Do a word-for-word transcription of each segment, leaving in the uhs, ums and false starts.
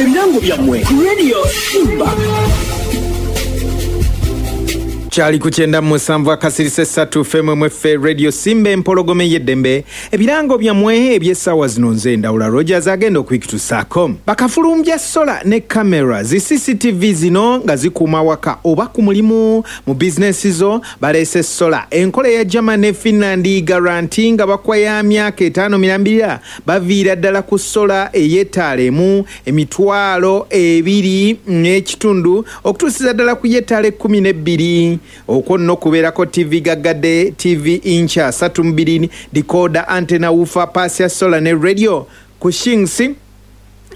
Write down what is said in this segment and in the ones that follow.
Bye birango byammwe ku Radio Simba. Kyali ku kyenda musanvu akasirise ssatu F M mweffe, Radio Simba, empologome y'eddembe. Ebirango byammwe eby'essaawa zino, nze Ndawula Rogers agenda okubikutusaako. Bakafulumbya solar ne kamera zi C C T V zino nga zikuuma waka oba ku mulimu mu bizinesi zo, baleese solar enkola eya German ne Finland, guarantee nga bakwa ya myaka etaano mirambirira. Baviira ddala ku solar ey'ettaala emu emitwalo ebiri n'ekitundu okutuusiza ddala ku y'ettaala ekkumi n'ebbiri. Okwo nno kubeerako T V gaggadde, T V inch asatu mu bbiri, decoder, antenna, woofer, paasi ya solar ne radio ku shillings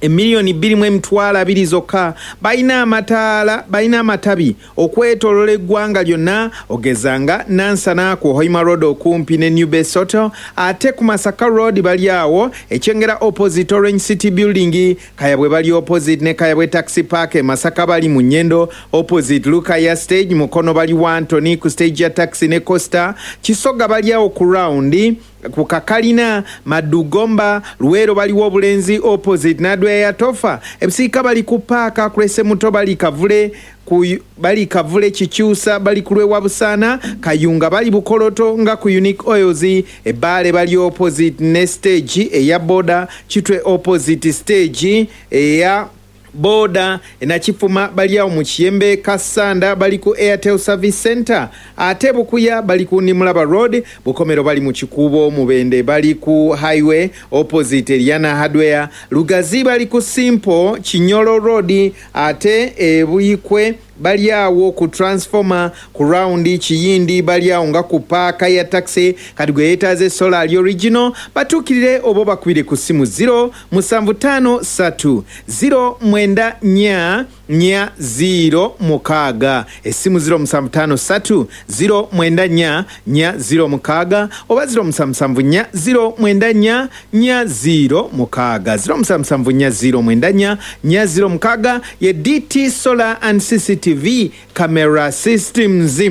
emiliyoni bbiri mu emitwalo abiri zokka. Balina amataala, balina amatabi okwetoolola eggwanga lyonna, ogezanga Nansana ku Hoima Road okumpi ne New Base Hotel, ate ku Masaka Road bali awo Ekyengera opposite Orange City Building, Kayabwe bali opposite ne Kayabwe Taxi Park, e Masaka bali mu Nyendo opposite Lukaya Stage, Mukono bali Wantoni ku stage ya taxi ne Costa, Kisoga bali awo ku round ku Kakalina, Madugomba, Luweero baliwo Obulenzi opposite Nadwe ya Tofa, Ebusiika bali ku paaka Kulese Muto, bali Kavule ku bali Kavule Kikyusa, bali ku lwewa Busaana, Kayunga bali Bukoloto nga ku Unique Oils, Ebbaale bali opposite ne stage eya boda, Kitwe opposite stage eya boda, Nakifuma bali awo mu Kiyembe, Kasanda bali ku Airtel Service Center, ate Bukuya bali ku Nimulaba Road, Bukomero bali mu Kikuubo, Mubende bali ku highway opposite Eliana Hardware, Lugazi bali ku Simple Kinyolo Road, ate Ebuyikwe bali awo ku transformer ku round, Kiyindi bali awo nga ku paaka ya taxi. Kati gwe yeetaaze solar ali original, batuukirire oba bakubire ku simu zero musanvu ttaano ssatu zero mwenda nnya nnya zero mukaaga. Essimu zero musanvu ttaano ssatu zero mwenda nnya nnya zero mukaaga oba zero musanvu musanvu nnya zero mwenda nnya nnya zero mukaaga, zero musanvu musanvu nnya zero mwenda nnya nnya zero mukaaga ye D T Solar and C C T V Camera Systems.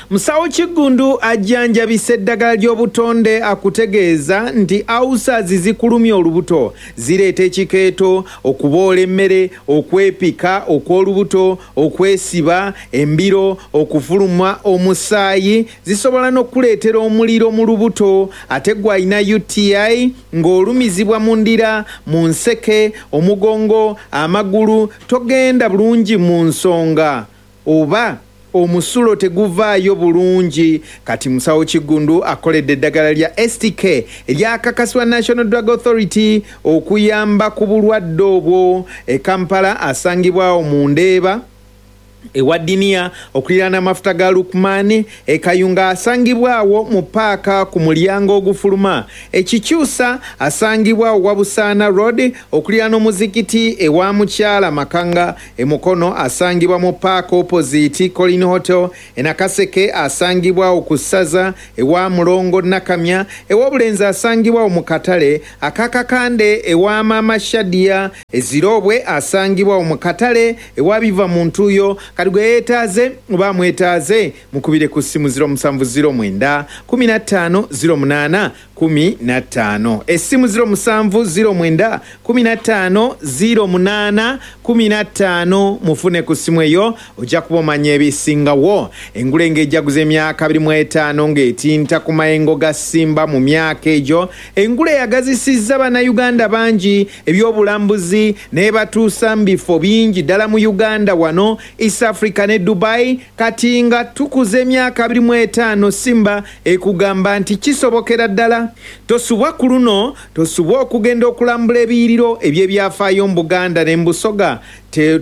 Musawo Kiggundu ajjanjabisa eddagala ly'obutonde, akutegeeza nti ulcers zikulumya olubuto, zireeta ekikeeto, okuboola emmere, okwepika okw'olubuto, okwesiba embiro, okufuluma omusaayi, zisobola n'okuleetera omuliro mu lubuto. Ate gwe alina U T I ng'olumizibwa mu ndira, mu nseke, omugongo, amagulu, togenda bulungi mu nsonga oba omusulo teguvaayo bulungi, kati Musawo Kiggundu akoledde eddagala lya S T K eryakakasibwa National Drug Authority okuyamba ku bulwadde obwo. E Kampala asangibwawo mu Ndeeba ewa Diniya okuliraana amafuta ga Lukman. E Kayunga asangibwawo mu paaka ku mulyango ogufuluma. Ekikyusa asangibwawo Wabusaana Road okuliraana omuzikiti ewa Mukyala Makanga. Emukono asangibwa mu paaka opposite Colin Hotel. Enakaseke asangibwawo ku ssaza ewa Mulongo Nakamya. Ew'Obulenzi asangibwawo mu katale akakakande ewa Mama Shadia. Ezirobwe asangibwawo mu katale ewa Biva mu Ntuuyo. Kati gwe yeetaaze oba mwetaaze, mukubire ku ssimu zero musanvu zero mwenda kumi na ttaano zero munaana kumi na ttaano. Essimu zero musanvu zero mwenda kumi na ttaano zero munaana kumi na ttaano. Mufune ku ssimu eyo, ojja kuba omanya ebisingawo. Engule ng'ejaguza emyaka abiri mu etaano ng'etinta ku mayengo ga Simba. Mu myaka egyo engule yagazisizza Bannayuganda bangi ebyobulambuzi n'ebatuusa mu bifo bingi ddala mu Uganda wano, East Africa ne Dubai. Kati nga tukuza emyaka abiri mu etaano, Simba ekugamba nti kisobokera ddala. Tosubwa ku luno, tosubwa okugenda okulambula ebiyiriro eby'ebyafaayo mu Buganda ne mu Busoga.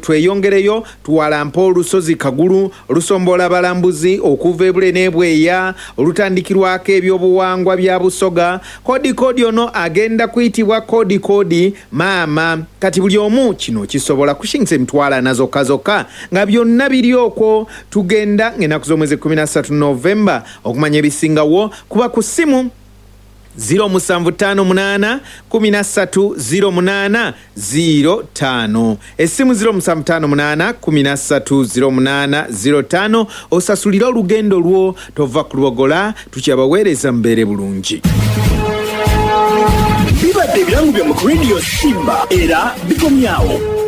Tweyongereyo tuwalampa olusozi Kagulu olusombola abalambuzi okuva ebule n'ebweya, olutandikirwako ebyobuwangwa bya Busoga. Kodi kodi ono agenda kuyitibwa kodi kodi maama. Kati buli omu kino kisobola kushingisa emitwalo ana zokka zokka nga byonna biri okwo. Tugenda ng'ennaku z'omwezi kkumi na ssatu Novemba. Okumanya ebisingawo kuba ku ssimu zero musanvu ttaano munaana kumi na ssatu zero munaana zero ttaano. Essimu zero musanvu ttaano munaana kumi na ssatu zero munaana zero ttaano, osasulire olugendo lwo. Tova ku Lubogola, tukyabaweereza, mbeere bulungi. Bibadde ebirango byammwe ku Radio Simba era bikomyawo.